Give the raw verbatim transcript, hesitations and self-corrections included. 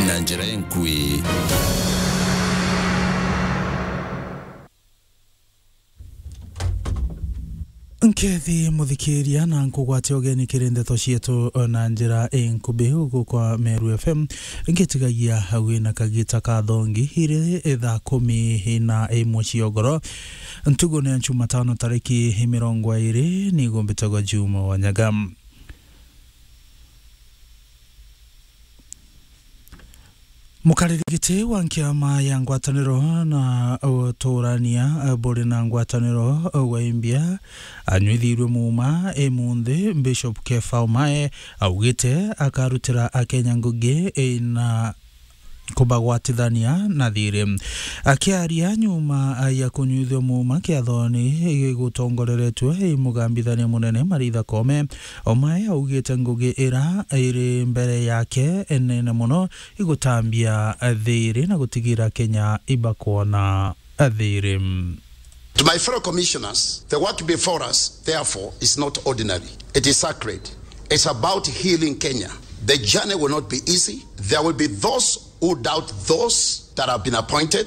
na njira inkui. Nkethi muthikiria na nkugwatia ugeni kiri ndeto cietu na njira inkubi guku kwa Meru F M. Ngitigagia wina kagita ka thongi iri thaa kumi na imwe cia ugoro. Ntugu ni ya Jumatano tariki mirongo iri, nigo mbitagwa Juma Wanyaga. Mukariri giti wa nkiama ya ngwataniro na uturania buri na ngwataniro wa imbia anyuithirwe muuma imunthi, Bishop Kefa Omae augite akarutira Akenya ngugi ina kubagwatithania na thiri. Akiaria nyuma ya kunyuithua muuma kiathoni gigutongoreretue i mugambithania munene Maritha Koome, Omae augite ngugi ira iri mbere yake nene mono igutambia thiri na gutigira Kenya ibakwona thiri. To my fellow commissioners, the work before us, therefore, is not ordinary. It is sacred. It's about healing Kenya. The journey will not be easy. There will be those who doubt those that have been appointed,